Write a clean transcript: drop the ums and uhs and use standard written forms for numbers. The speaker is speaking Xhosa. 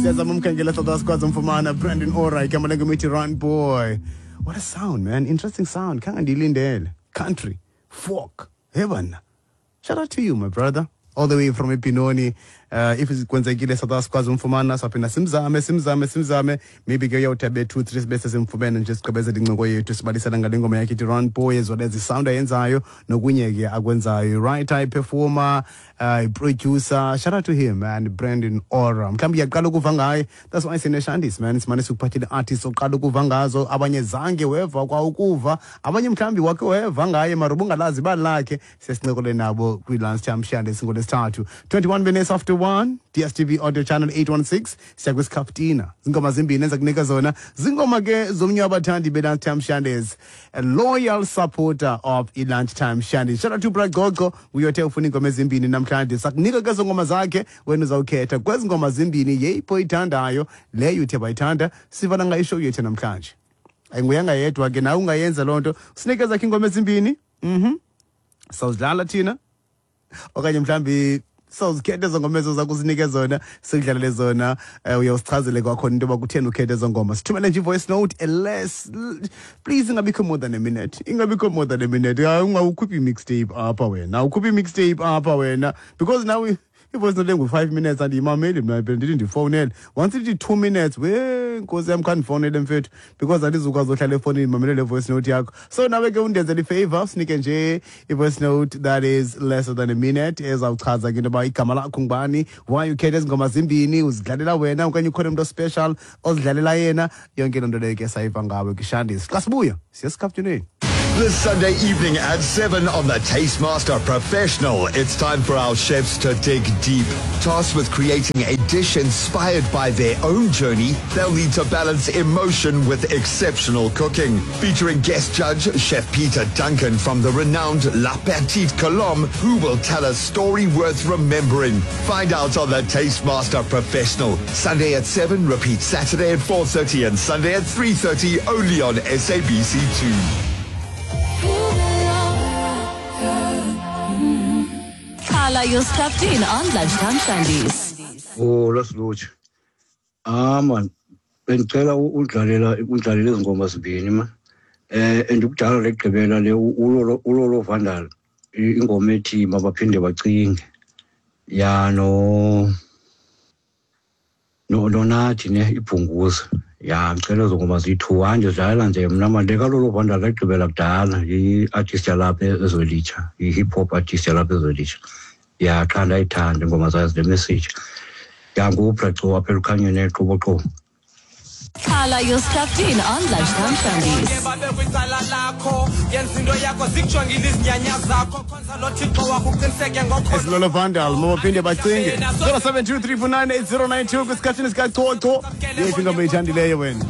Siyazama umkhangela soda sikwazi umfumana. Brandon Ora, igama lengoma ithi Run Boy. What a sound, man. Interesting sound. Khange ndiyilindele. Country, folk. Hey bana. Shout out to you, my brother. All the way from ePinoni. If kwenzekile soda sikwazi umfumana, saphinda simzame, simzame, simzame. Maybe ke uyawuthi abe 2 3 bese simfumene nje, sigqibezele incoko yethu, sibalisela ngale ngoma yakhe ithi Run Boy, as well as isound ayenzayo nokunye ke akwenzayo. Right, performer, producer. Shout out to him, man, Brandon Ora. Mhlawumbi uyaqala ukuva ngaye. That's why sineShandis, man. Simane sikuphathele artists oqala ukuva ngazo, abanye zange weva kwa ukuva, abanye mhlawumbi wakhe weva ngaye mara ubungalazi ibali lakhe. Siyasincokole nabo kwi-Lunchtime Shandis ngolwesithathu. 21 minutes after 1, DStv audio channel 816. Siya kwisikhafutina. Zingoma zimbini enza kunika zona, zingoma ke zomnye wabathandi be-Lunchtime Shandis, a loyal supporter of i-Lunchtime Shandis. Shout out to Bra Gogo, uyothe ufuna iingoma ezimbini namhlanje. Sakunika ke ezo ngoma zakhe, wena uzawukhetha kwezi ngoma zimbini yeyipho oyithandayo, leyo uthe bayithanda. Sivana ngayo ishow yethu namhlanje. Ayinguyanga yedwa ke, nawe ungayenza loo nto, sinike zakhe iingoma ezimbini, sawuzidlala thina, okanye mhlawumbi sawuzikhetha ezo ngoma ezo zakuzinike zona, sikudlalele zona. Uyawusichazele kwakhona into yoba kutheni ukhethe ezo ngoma. Sithumele nje i-voice note less, please, ingabikho more than a minute, ingabikho more than a minute. Hayi, ungawukhuphi i-mixtape apha wena, awukhuphi i-mixtape apha wena, because now i-voice note engu-5 minutes andiyimameli mna. Phela ndithi ndifowunele, once ithi 2 minutes, we nkosi yam, khandifowunele mfethu, because andizukwazi ohlala efowunini ndimamele le voice note yakho. So nawe ke undenzela ifavor, sinike nje i-voice note that is less than a minute, ezawuchaza ke into yoba igama lakho ngubani, why ukhethe ezi ngoma zimbini, uzidlalela wena okanye ukhona umntu ospecial ozidlalela yena. Yonke loo nto leyo ke sayiva ngawe kwishandis. Xa sibuya siye sikaftuneni. This Sunday evening at 7 on the Taste Master Professional, it's time for our chefs to dig deep. Tasked with creating a dish inspired by their own journey, they'll need to balance emotion with exceptional cooking. Featuring guest judge Chef Peter Duncan from the renowned La Petite Colombe, who will tell a story worth remembering. Find out on the Taste Master Professional. Sunday at 7, repeat Saturday at 4:30 and Sunday at 3:30, only on SABC2. Carla, you're strapped in on Lunchtime Shandies. Oh, lasilutsha. Ah man, bendicela udlalela undlalele ezi ngoma zimbini ma. Andikudala legqibela le uLolo Vandal, ingoma ethi Mabaphinde Bacinge. Ya, no nonathi ne ibhunguza. Ya, ngicela ezo ngoma ziyi-two. Hayi, ndidlalela nje mna man, le kaLolo Vandal legqibela kudala, i-artist yalapha eZwelitsha, i-hip hop artist yalapha eZwelitsha. Ya, qha ndayithanda ingoma zayo, zine-message. Ya, nguBraco apha elukhanyeni eQoboqobo. Carla, you're strapped in on Lunchtime Shandies. Babe kwicala lakho, yenza into yakho, zikujongile izinyanya zakho, khonza lo Thixo wakho, uqiniseke ngokholo. Esilolo Vandal, Mabaphinde Bacinge. 0723498092 kwisikhathini sikacoco. Yeyiphi ingoma oyithandileyo wena?